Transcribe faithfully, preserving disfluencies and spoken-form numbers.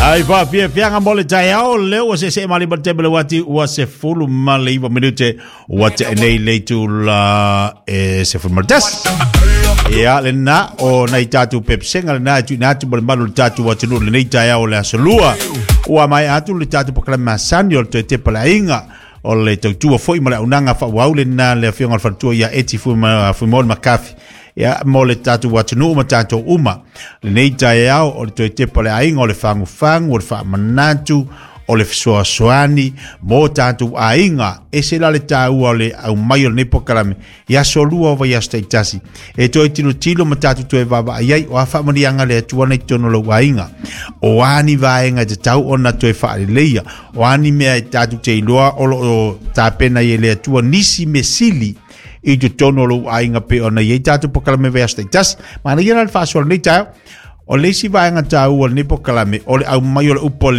Ai faafiafiaga mo le taeao lea ua seesee malima le taimi le uati ua sefulu ma le iva minute ua te'e nei le itula e sefulu ma le tasi. Ia lena o nai tatou pepesega lena e tuuina atu ma le malu o le tatou atunuu lenei taeao o le aso lua. Ua maea atu le tatou polokalame masani o le toe tepa le aiga o le tautua foi ma le auaunaga faaauau lena le afioga o le faletua ia Eti Fuimaono Makafi ia mo le tatou atunuu ma tatou uma. Lenei taeao o le toe tepa le aiga o le fagufagu o le faamanatu o le fesoasoani mo tatou aiga. E se la le taua o le aumai o lenei polokalame i aso lua o vaiaso taitasi e toe tilotilo ma tatou toe vaavaai ai o a faamanuiaga le Atua nei totonu o lou aiga, o a ni vaega e tatau ona toe faaleleia, o a ni mea e tatou te iloa o loo tapena i e le Atua nisi mesili i totonu o lou aiga pe ona i ai tatou polokalame vaiaso taitasi. Manaia la le faasoa lenei taeao o le isi vaega taua o lenei polokalame o le aumai o le upu.